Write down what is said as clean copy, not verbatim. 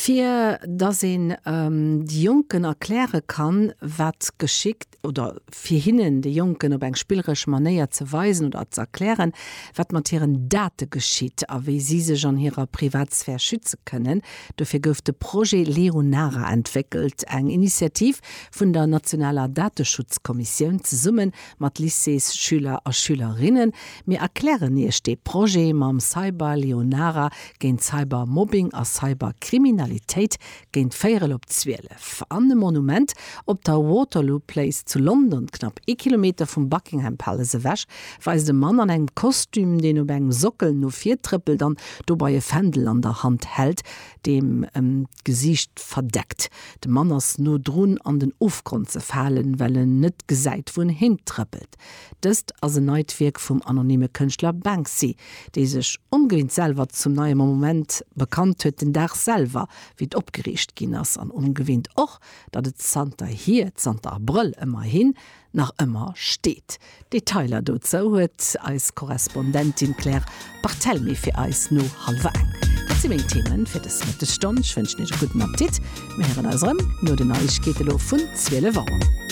Fir dass een de Jonken erkläre kann, wat geschickt, oder fir hinnen, de Jonken, op eng spilleresch Manéier ze weisen oder ze erklären, wat mat hiren Date geschitt a wéi si sech an hirer Privatsphär schütze kënnen. Dofir gouf de Projet Leonara entwéckelt, eng Initiativ vun der nationaler Dateschutzkommissioun zesumme mat Lycéesschüler a Schülerinnen. Mir erklären Iech dee Projet mam Cyber Leonara géint Cybermobbing a Cyberkriminalitéit géint véierel op 12. An e Monument op der Waterloo Place zu London, knapp ee Kilometer vum Buckingham Palace ewech, weist e Mann an engem Kostüm, deen op engem Sockel no vir trëppelt an dobei e Fändel an der Hand hält, deem em d'Gesiicht verdeckt. De Mann ass no drun an den Ofgrond ze falen, well en net gesäit wou en hintrëppelt. Dëst ass en neit Wierk vum anonyme Kënschtler Banksy, dee sech ongewinnt selwer zum neie Monument bekannt huet, den Dag selwer wéi et opgeriicht ginn ass, an ongewinnt och, datt et zanterhier, zanter Abrëll ëmmerhin, nach ëmmer steet. Detailer dozou huet eis Korrespondentin Claire Barthelmy fir eis no hallwer eng. Dat si meng Themen fir dës Mëttesstonn. Ech wënschen iech e gudden Appetit. Mir héieren eis erëm no den Neiegkeete lo vun 12 Auer.